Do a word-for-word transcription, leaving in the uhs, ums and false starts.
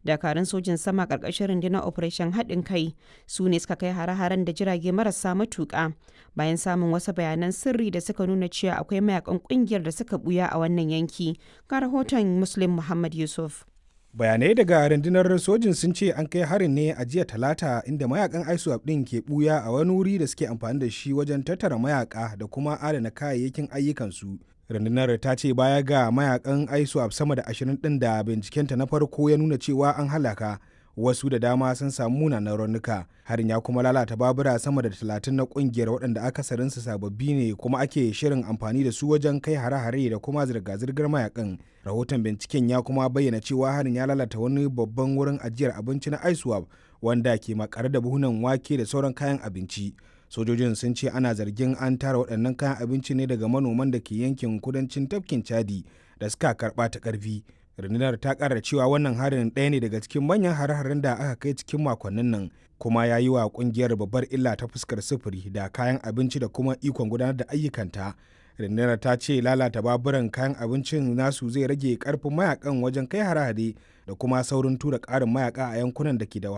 Dakarun sojin sama ƙarƙashin rundunar Operation Haɗin Kai su ne suka kai hare-haren da jirage marasa matuƙa bayan samun wasu bayanan sirri da suka nuna cewa akwai mayakan ƙungiyar da suka buya a wannan yanki. Ga rahoton Muslim Muhammad Yusuf. Bayanai daga rundunar sojin sun ce an kai harin ne a jiya Talata, inda mayakan ISWAP din ke buya a wani wuri da suke amfani da shi wajen tattara mayaka da kuma adana kayayyakin ayyukansu. Rundunar ta ce baya ga mayakan ISWAP sama da ashirin din da bincikenta na farko ya nuna cewa an halaka, wasu da dama sun samu munanan raunuka. Harin ya kuma lalata babura sama da talatin na kungiyar, waɗanda akasarinsu sababbi ne kuma ake shirin amfani da su wajen kai hare-hare da kuma zirga-zirgar mayakan. Rahoton binciken ya kuma bayyana cewa harin ya lalata wani babban wurin ajiyar abinci na ISWAP wanda ke makare da buhunan wake da sauran kayan abinci. Sojojin sun ce ana zargin an tara waɗannan kayan abinci ne daga manoman da ke yankin kudancin tafkin Chadi da suka karɓa ta ƙarfi. Rundunar ta kara cewa wannan harin ɗaya ne daga cikin manyan hare-haren da aka kai cikin makonnin nan, kuma ya yi wa kungiyar babbar illa ta fuskar sufuri da kayan abinci da kuma ikon gudanar da ayyukanta. Rundunar ta ce lalata baburan kayan abincin nasu zai rage karfin mayakan wajen kai hare-hare da kuma saurin tura ƙarin mayaka a yankunan da ke da wahala.